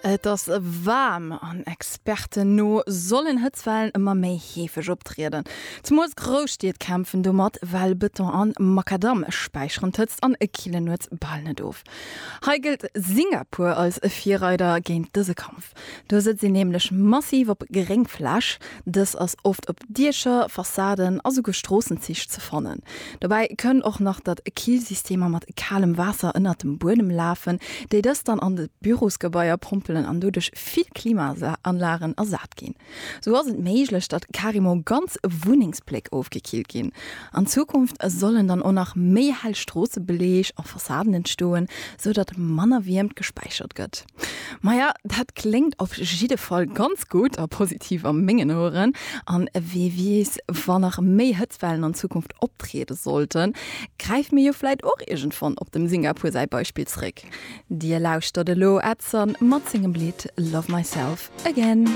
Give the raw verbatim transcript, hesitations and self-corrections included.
Et ass waarm an Experten no sollen Hëtztwellen ëmmer méi heefeg optrieden. Zemools Grousstied kämpfen domat, well Bëton an Makadamm späicheren d'Hëtzt an killen nuets bal net of. Hei gëllt Singapur als Virreider géint dëse Kampf. Do setzt een nämlech massiv op Gréngfläch, dës ass oft op Diecher, Fassaden a souguer Stroossenzich ze fannen. Dobäi kënnt och nach, datt Killsystemer mat kalem Waasser ënnert dem Buedem lafen, déi dëst dann an de Bürosgebaier pompelen an doduerch vill Klimaanlagen ersat ginn. Sou ass et méiglech, datt carrément ganz Wunnengsbléck ofgekillt ginn. An Zukunft sollen dann och nach méi hell Stroossebeleeg a Fassaden entstoen, sou datt manner Wiermt gespäichert gëtt. Maja, dat kléngt op jidde Fall ganz gutt a positiv a mengen Oueren. An wie weess, wann nach méi Hëtztwellen an Zukunft optriede sollten, gräife mir jo vläicht och iergendwann op dem Singapur säi Beispill zréck. Dir lauschtert elo Edson mat sengem Lidd Love Myself Again.